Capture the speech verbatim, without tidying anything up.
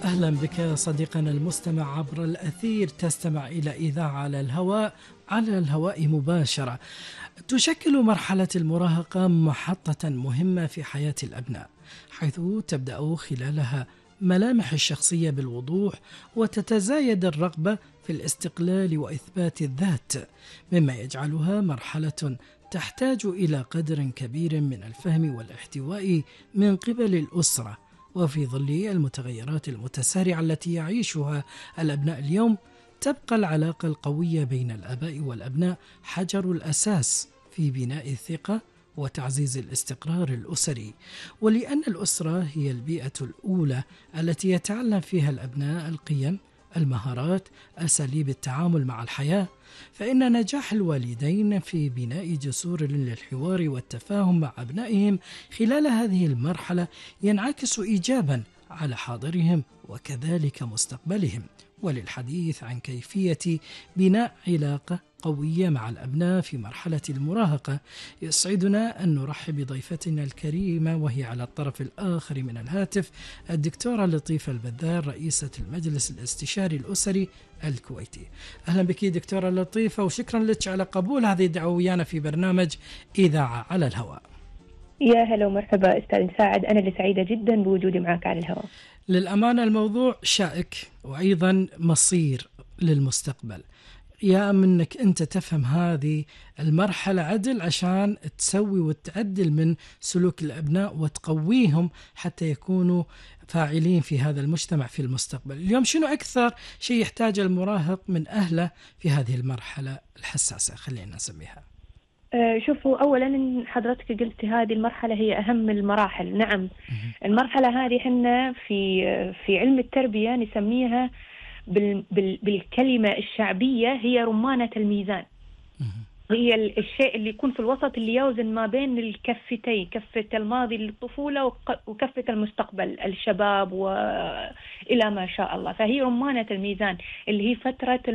أهلا بك صديقنا المستمع عبر الأثير، تستمع إلى إذاعة على الهواء على الهواء مباشرة. تشكل مرحلة المراهقة محطة مهمة في حياة الأبناء، حيث تبدأ خلالها ملامح الشخصية بالوضوح، وتتزايد الرغبة في الاستقلال وإثبات الذات، مما يجعلها مرحلة تحتاج إلى قدر كبير من الفهم والاحتواء من قبل الأسرة. وفي ظل المتغيرات المتسارعة التي يعيشها الأبناء اليوم، تبقى العلاقة القوية بين الآباء والأبناء حجر الأساس في بناء الثقة وتعزيز الاستقرار الأسري. ولأن الأسرة هي البيئة الأولى التي يتعلم فيها الأبناء القيم، المهارات، أساليب التعامل مع الحياة، فإن نجاح الوالدين في بناء جسور للحوار والتفاهم مع أبنائهم خلال هذه المرحلة ينعكس إيجابا على حاضرهم وكذلك مستقبلهم. وللحديث عن كيفية بناء علاقة قوية مع الأبناء في مرحلة المراهقة، يسعدنا أن نرحب بضيفتنا الكريمة، وهي على الطرف الآخر من الهاتف الدكتورة لطيفة البذار، رئيسة المجلس الاستشاري الأسري الكويتي. أهلا بك دكتورة لطيفة، وشكرا لك على قبول هذه الدعوة ويانا في برنامج إذاعة على الهواء. يا هلا ومرحبا أستاذ مساعد، أنا اللي سعيدة جدا بوجودي معك على الهواء. للأمانة الموضوع شائك وأيضا مصير للمستقبل، يا منك أنت تفهم هذه المرحلة عدل عشان تسوي وتعدل من سلوك الأبناء وتقويهم حتى يكونوا فاعلين في هذا المجتمع في المستقبل. اليوم شنو أكثر شيء يحتاج المراهق من أهله في هذه المرحلة الحساسة، خلينا نسميها؟ شوفوا، أولا حضرتك قلت هذه المرحلة هي أهم المراحل. نعم، المرحلة هذه حنا في في علم التربية نسميها بال بال بالكلمة الشعبية هي رمانة الميزان. هي الشيء اللي يكون في الوسط، اللي يوزن ما بين الكفتين، كفة الماضي للطفولة وكفة المستقبل الشباب وإلى ما شاء الله. فهي رمانة الميزان اللي هي فترة